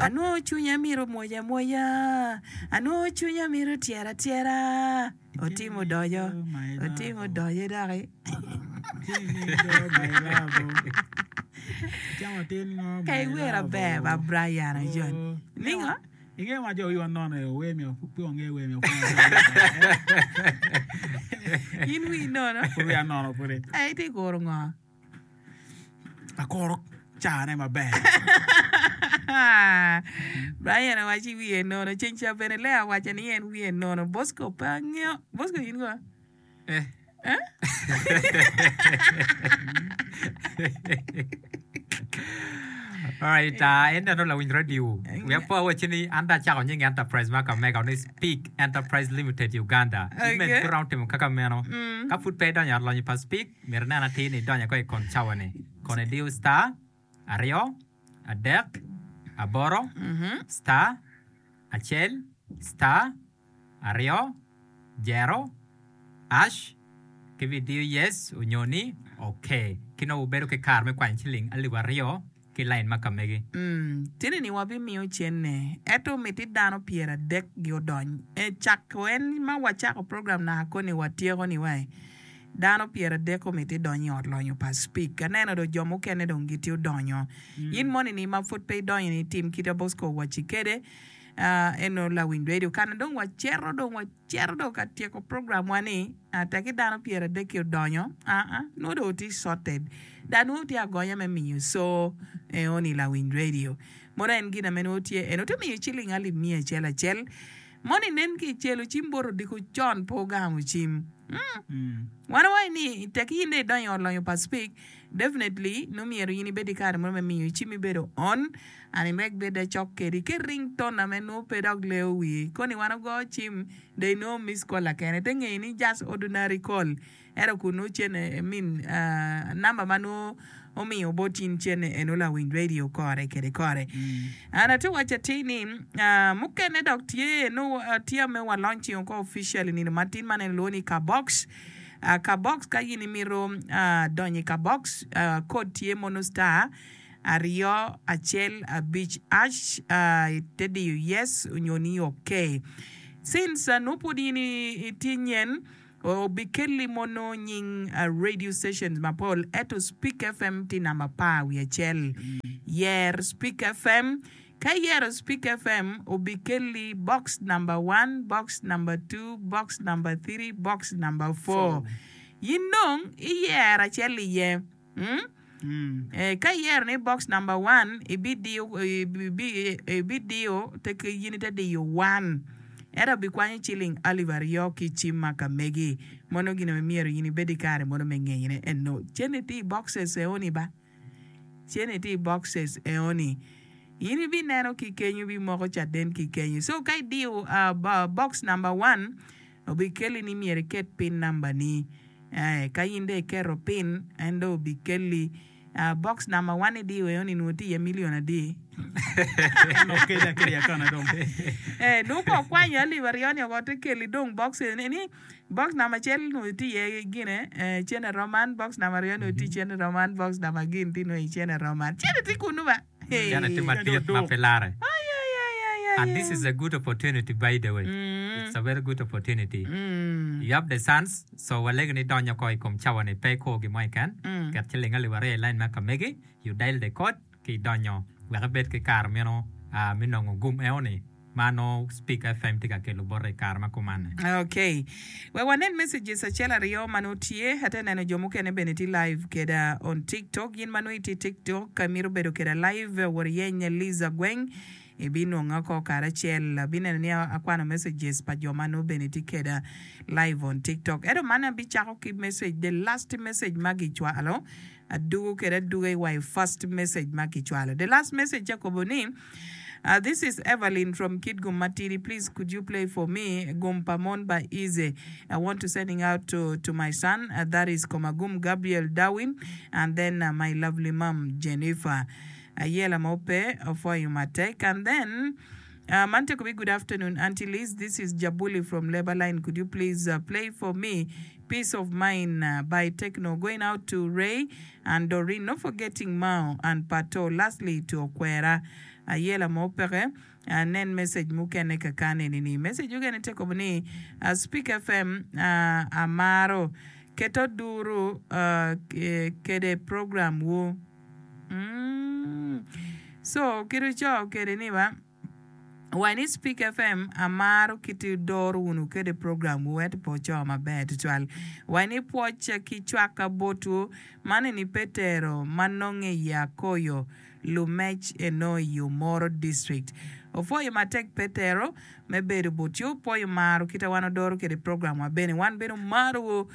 Anwongo cwinya mito mwoc amwoca, anwongo cwinya mito tyer atyera. Otimo odoco, otimo odoco doki. Ka iwero aber ba Brian Ajon. Ningo? Inge ma jo wiwa nono e wer miyo pe wange wer miyo In wii nono? Pud wiya nono pudi. Eh, itye kuro ngo? Akuro cane maber. Brian owaci wiye nono. Ceng ca bene Lea owaco ni en wiye nono. Bosco pe angeyo. Bosco in go? Eh. Eh? Alright, uh, en dano lawiny radio. Wiya po awacci ni an dong acako nying enterprise ma kamega ni Speak Enterprise Limited Uganda. Okay. In bene pud iromo timo kaka meno. Ka pud pe idonyo i ot lonyo pa Speak, Myero inen atir ni idonyo ko i kon cawa-ni. Kono idiyo star, aryo, adek, aboro, star, acel, star, aryo, jero, ash, ki bi diyo yes onyo ni ok. Ki nongo wubedo ki kare me kwanyo ciling alip aryo. ki lain ma ka megi. Tye ni wabimiyo cente, ento miti dano pyeradek gi odony. E cako en ma wacako program naka koni watyeko ni wai dano pyeradek omiti dony i ot lonyo pa Speke. Aneno dong jo mukene dong gitye odonyo. In moni ni ma pud pe idonyo ni tim kit a Bosco owacci kede eno lawiny radio kana dong wacito dong Cito dong ka tyeko programwa ni, tekki dano pyeradek-ki odonyo, aa, nongo dong wutye sorted. Dok nongo wutye agonya me miyo co eoni lawiny radio. Mono en gin ame nongo tye eno, wutye miyo ciling alip miya acel acel. Mono inen ki icelo cim bot odiko con pe wugamo cim. Mm. Wan wawaco ni tekki in dong idonyo i ot lonyo pa Speke, definitely nongo myero in ibed ki kare mo me miyo cim ibedo on. An iwek bed acok kedi ki ring tone ame nongo pe dok leyo wii. Koni wan ogo cim dong inongo miss call akene te ngeyo ni just ordinary call ento kun nongo cene I mean number ma nongo omiyo bot in cene eno lawiny radio kore kede kore. An atye waco atir ni mukene dok tye nongo tye ame wa launching oko officially nino matin ma neno lwongo ni kabox. Kabox ka in imito donyo i kabox code tye mono star aryo acel abic ash ite diyo yes onyo ni ok. Since nongo pwod in itye nyen obikelli mono nying radio stations mapol ento Speak FM tye namba apar wiye acel. Yer Speak FM ka iyero Speak FM obikelli box number one, box number two, box number three, box number four. In dong iyero acel iye. Ka iyero ni box number one, ibidiyo ibidiyo te in ite diyo one ento bikwanyo ciling alip aryo ki i cim ma ka megi. Mono gin ma myero in ibed ki kare mono me ngeyone eno. Cente tye i boxes eoni ba. Cente tye i boxes eoni. In ibineno ki kenyo ibimoko caden ki kenyo. So ka idiyo box number one obikelli ni myero iket pin number ni. Ee, ka in dong iketo pin, en dong obikelli. Ah, box number one idiyo eno ni nongo tye iye million adi? En okeli akeliya kana dong. Ee, nongo ka okwanyo alip aryoni oko te keli dong box eni ni box number acel nongo tye iye gine, eh, cene roman, box number aryo nongo tye cene roman, box number gin tye nongo i cene roman. Cene tye kunu ba. Cene tye madit ma pe lare. And this is a good opportunity by the way. It's a very good opportunity. You have the chance, so walegi ni donyo ko i kom cawa ni pe ikur gin mo keken. Ket ciling alip aryo i line ma ka megi, you dial the code ki idonyo wek ibed ki kare meno me nongo gum eno ni. ma nongo Speak FM tye ka kelo bote i kare ma kuman-ni. Ok. Wek wanen messages acel aryo ma nongo tye. Atye neno jo mukene bene tye live keda on TikTok. In ma nongo itye i TikTok ka imito bedo keda live, wot iyeny Liza Gweng. Ibinwonga oko karacel. Abineno ni akwano messages pa jo ma nongo bene tye keda live on TikTok. Ento man abicako ki message, the last message ma gicwalo. Adugo kede aduga i wa i first message ma kicwalo. The last message tye akobo ni, This is Evelyn from Kitgum Matidi, please could you play for me Gum pa Mon by Eazy. I want to sending out to, to my son uh, that is Komagum Gabriel Darwin and then uh, my lovely mom Jennifer. Ayela mo pe opwoyo matek and then uh, man tye kobi good afternoon Auntie Liz this is Jabuli from Labor Line could you please uh, play for me Peace of Mind by Tekno going out to Ray and Doreen not forgetting Mao and Pato lastly to Okwera. Ayela mo peke. Nen message mukene kakan eni ni. Message mukene tye kobo ni Speak FM amaro keto duru kede program wu. So kit oco kede ni ba wa ni Speak FM amaro kit doro wunu kede program wu ento pe oco maber tutwal. Wa ni pwoc ki cwaka botwu man eni Petero ma nonge i Akoyo. Lumec eno i Omoro District. Opwoyo matek Petero me bedo botwu, pwoyo maro kita wan odoro kede program wa bene. Wan bene omaro wu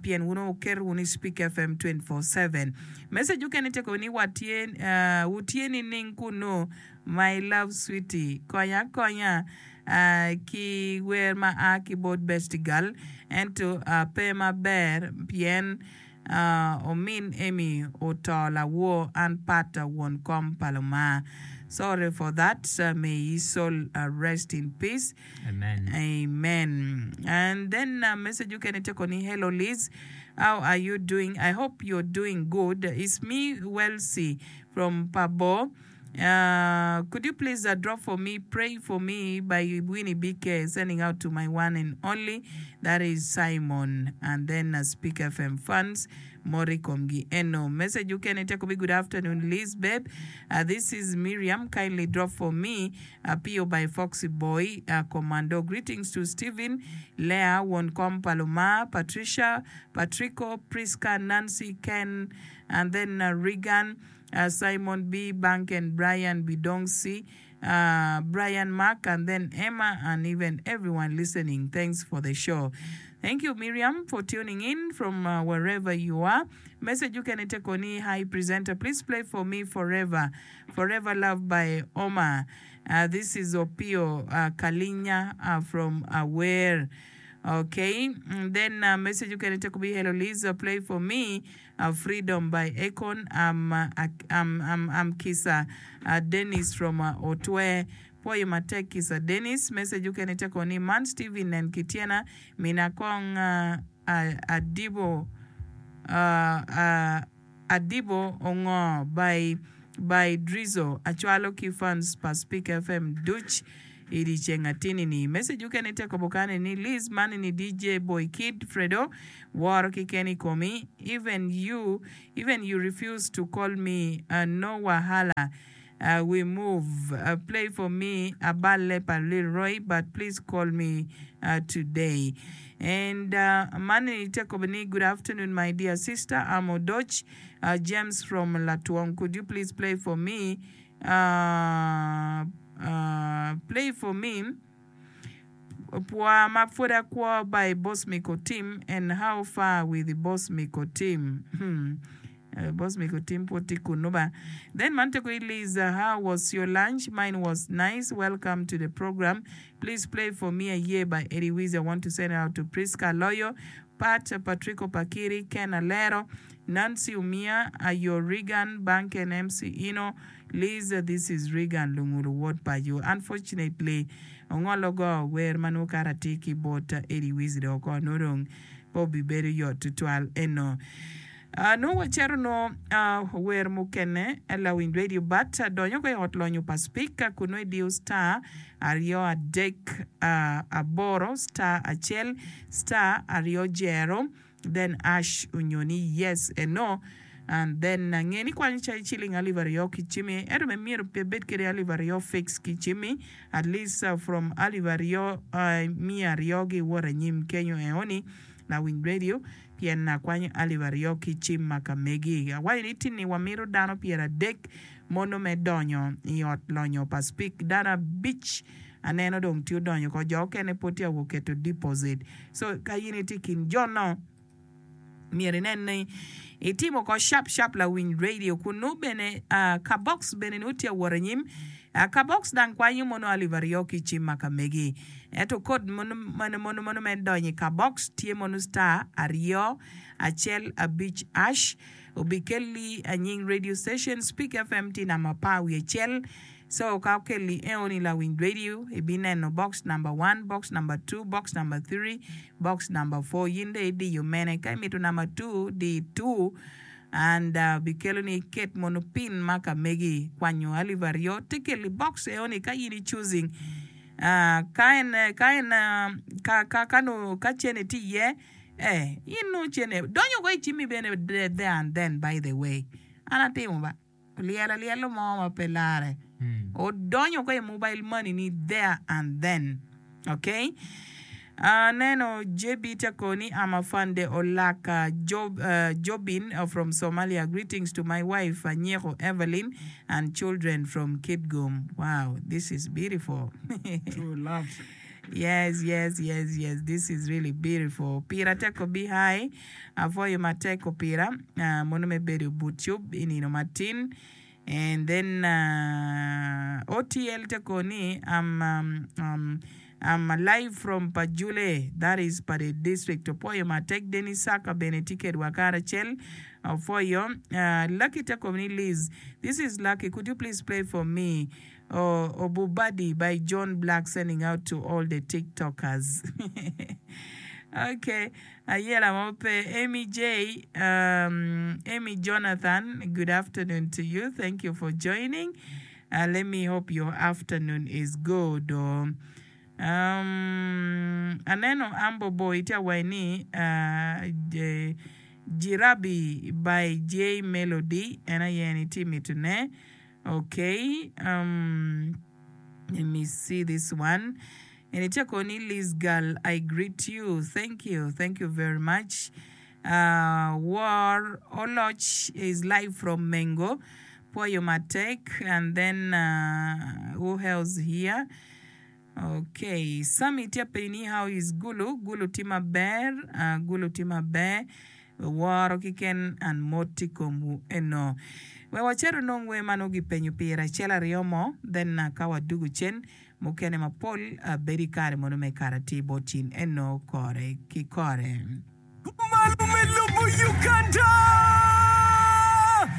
pien wun wuketo wunu i Speak FM 24/7. Message okene tye kobo ni wa tye wu tye nining kunu my love sweetie konya akonya ki wer ma a ki bot bestie girl ento pe maber pien Omin Amy oto lawor an pat won kom pa Lubanga. Sorry for that may his soul rest in peace. Amen. Amen. And then message okene tye koni hello Liz how are you doing I hope you're doing good it's me Welsi from Pabo Could you please drop for me pray for me by Winnie BK sending out to my one and only that is Simon and then Speak FM fans mot i komgi eno message ukene tye akobi good afternoon Liz babe this is Miriam kindly drop for me Apio by Foxy Boy Commando greetings to Steven Lea won kom pa Lumar Patricia Patrico Prisca Nancy Ken and then Regan Simon B. Banken, Brian Bidongsi, Brian Mark, and then Emma, and even everyone listening. Thanks for the show. Thank you, Miriam, for tuning in from wherever you are. Message ukene te koni, hi presenter, please play for me Forever, Forever Love by Omar. This is Opio Kalinya from Awer. Okay, then message ukene te kobi, hello Liz, play for me Freedom by Akon am Kisa Dennis from Otwe pwoyo matek Kisa Dennis message okene tye koni man Steven nen ki tyena mina kong adibo adibo ongo by by Drizzo acwalo ki fans pa Speak FM duc I dyeceng atini-ni, message okene te kobo kani ni Liz man ni DJ Boy Kid Fredo woro kiken i komi even you even you refuse to call me no wahala we move play for me aballe pa Lil Roy but please call me today and man ni te kobo ni good afternoon my dear sister I'm Odoch James from Latwong could you please play for me Play for me Pwa ma pwod akwo by Bosmic Otim and how far with Bosmic Otim hmm Bosmic Otim pwod tye kunu ba Then man tye kwi Liza how was your lunch mine was nice welcome to the program please play for me Aye by Eddie Wiz I want to send out to Prisca Aloyo Pat Patrico Pakiri Ken Alero Nancy Umia, Ayo Reagan, Banken MC Ino, Liz This is Reagan Lungulu wod pa yo. Unfortunately, ongolo go wer ma nongo kara atir ki bot Eddie Wizzy dong oko nongo dong pe obibedo yot tutwal eno. Nongo wacito nongo wer mukene lawiny radio but donyo ko i ot lonyo pa speaker kun nongo idiyo star 2 3 8 star 1 star 2 0 then ash onyo ni yes and no and then nge ni kwanyo cai ciling alip aryo ki cimi ento me myero pe bed kede alip aryo fix ki cimi at least from alip aryo miya aryo gi wot anyim kenyo eoni lawiny radio pien akwanyo alip aryo ki cim ma ka megi awaco ni tini wamito dano 30 mono me donyo i ot lonyo pa speak dano abic Aneno dong tye odonyo oko, jo okene pwod tye awo keto deposit. So ka in itye i kin jo no, myero inen ni itimo oko sharp sharp lawiny radio kun nongo bene ka box bene nongo tye awot anyim. Ka box dang kwanyo mono alip aryo ki cim ma ka megi. Ento code mono mono mono me donyo i ka box tye mono star aryo acel abic ash obikelli anying radio station Speak FM tye namba apar wiye acel. So ka okelli eoni lawiny radio ibineno box number one, box number two, box number three, box number four yin dong idiyo mene ka imito number two di two. And bikelo ni iket mono pin ma ka megi kwanyo alip aryo te kelo i box eo ni ka in i choosing ka en ka en ka ka ka nongo ka cene tye iye eh in nongo cene donyo woko i cimmi bene there and then by the way an atimo ba olyelo alyelo mo ma pe lare odonyo woko i mobile money ni there and then. Ok aneno JB tye ko ni I'm Afande Olaka Jobin from Somalia greetings to my wife Anyeko Evelyn and children from Kitgum wow this is beautiful True love. Yes yes yes yes this is really beautiful Pira teko bi hi apwoyo matek opira mono me bedo but cub i nino matin And then OTL te ko ni I'm, um, I'm live from Pajule, that is Pade district. Opwoyo matek Dennis Saka bene tye kedwa karacel. Opwoyo. Lucky te ko ni Liz, this is Lucky, could you please play for me oh, Obubadi by John Black sending out to all the TikTokers. okay. Ayela mo pe. Amy J, Amy Jonathan, good afternoon to you, thank you for joining, let me hope your afternoon is good. Um, aneno Ambo Boy tye awaci ni Jirabi by J Melody en aye en itye mitone. Okay, um, let me see this one. And itye koni Liz girl, I greet you. Thank you. Thank you very much. Uh, War Oloch is live from Mengo. Pwoyo matek. And then uh, who else here? Okay, Sammy tye penyo ni how is Gulu? Gulu tye maber, uh, Gulu tye maber. Woro kiken and mot i komwu eno. Wek wacit onong wer ma nongo gipenyo pire acel aryo mo, then uh, ka wadugu cen mukene mapol uh, bedo i kare mono me kare atir bot cin eno kore ki kore. Malo me lobo Uganda!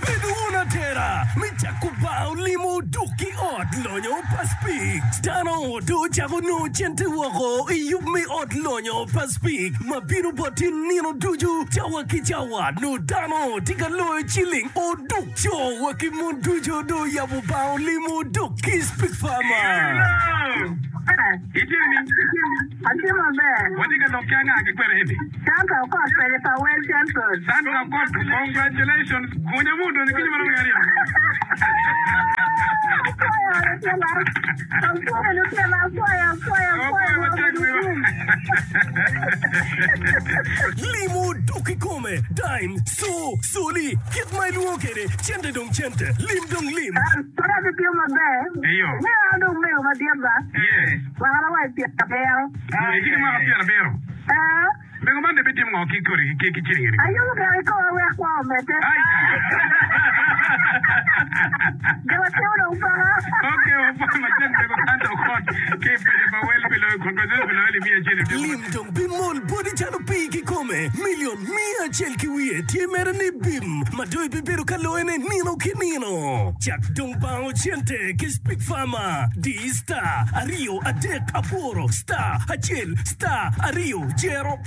Bed wun atera me cako bar olimo duk ki ot lonyo pa Speke. Dano dong ocako nongo cente woko i yub me ot lonyo pa Speke ma bino boti nino ducu cawa ki cawa. Nongo dano tye ka loyo ciling oduk. Co wa ki mon ducu dong oyabo bar olimo duk ki Speke Farmer. Atye maber. Watye ka lok ki anga ki kwene eni? Sandra Okot kwede pa Well Central. Sandra Okot, congratulations. Gunya mu odonyo kinyo marom aryo. Apwoyo lutino. Apwoyo lutino, apwoyo, apwoyo, apwoyo. Apwoyo matek wiro. Limo dok kikome, dime, co, coli, kit ma ilwongo kwede, cente dong cente, lim dong lim. Pud atye maber. Eyo. Meno an dong mego madit ba. Yes. Mwaka ma wa i pyerabiro. Itye ki mwaka pyerabiro. Ee. Mego man dong bitimo ngo ki kodi ki ciling eni? Ayubo gire i koma wek kwo omedde. Gin atimo dong paka. Ok, wapwoyo matek mego Santa Okot ki i paco pa Wel pi loyo congratulations pi loyo alip miya acel i odiko Lim matek. dong bimol boti calo pii kikome. Milion miya acel ki wiye tye mere ni bim ma dong ibibedo ka loyone nino ki nino. Cak dong bango cente ki Speak Farmer. Di star aryo adek aboro star acel star aryo jero.